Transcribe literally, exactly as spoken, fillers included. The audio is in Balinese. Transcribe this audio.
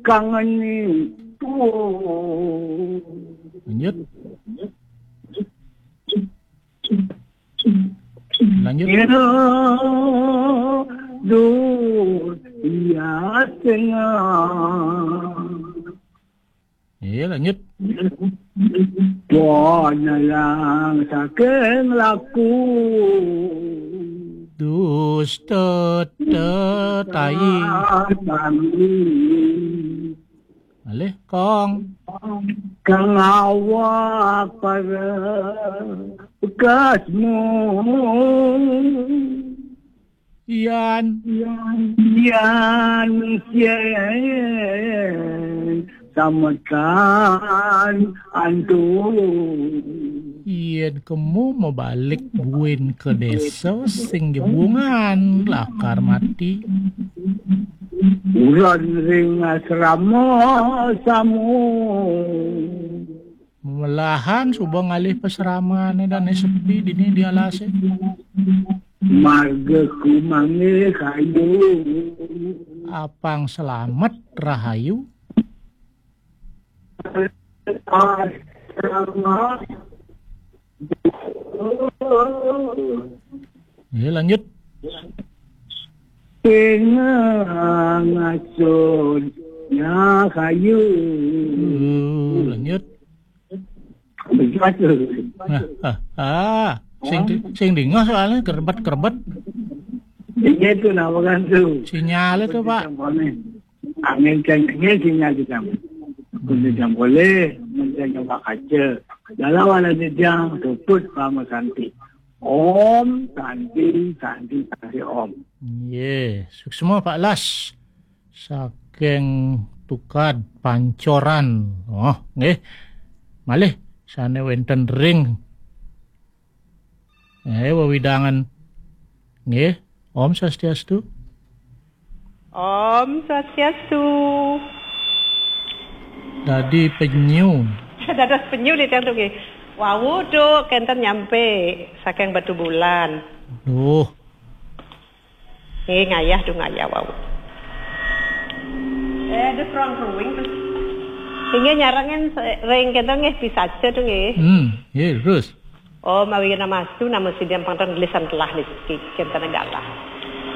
Kangen itu. Lanjut. Lanjut. Dur, iya tengah. Iya, lanjut. Panalang saking laku. Dusta tetai. Alih kong. Kang awak para bekasmu. Yan. Yan, yan, sien, samekan, antu. Yen kemu mebalik buin ke desa sing jebungan lakar mati. Uran ring asrama samu. Melahan suba ngalih pasramane dane sepi dini di alase. Marga kumangge kayu. Apang selamet rahayu. Asrama. Ya, lanjut. Tengah ngasuh ya kayu. Uh, lanjut. Begitu. Nah, ah, ah. Sing di- sing dingah soalnya kerbet-kerbet. Ini tuh nama kan tuh. Sinyal itu, Pak. Angin kencengnya sinyal di kamu. Kunci jam boleh, menceng coba kaca. Dalam wala jejang, tuput pama santi. Om, santi, santi, santi, om. Ye, suksma Pak Las. Saking Tukad Pancoran. Oh, nggih. Malih sane wenten ring. Eh, wewidangan. Nggih. Om Swastiastu. Om Swastiastu. Dadi penyu. Dados penyu di tiang tuh nggih. Wau tuh kenten nyampe saking Batu Bulan. Duh. Nggih, ngayah tuh ngayah wau. Eh, ada ruang ruwing tuh. Inggih nyarengin se- ring kenten nggih pisaca tuh nggih. Hmm, nggih terus. Om awighnamastu namo siddham pangkatan gelisan telah niki kenten galah.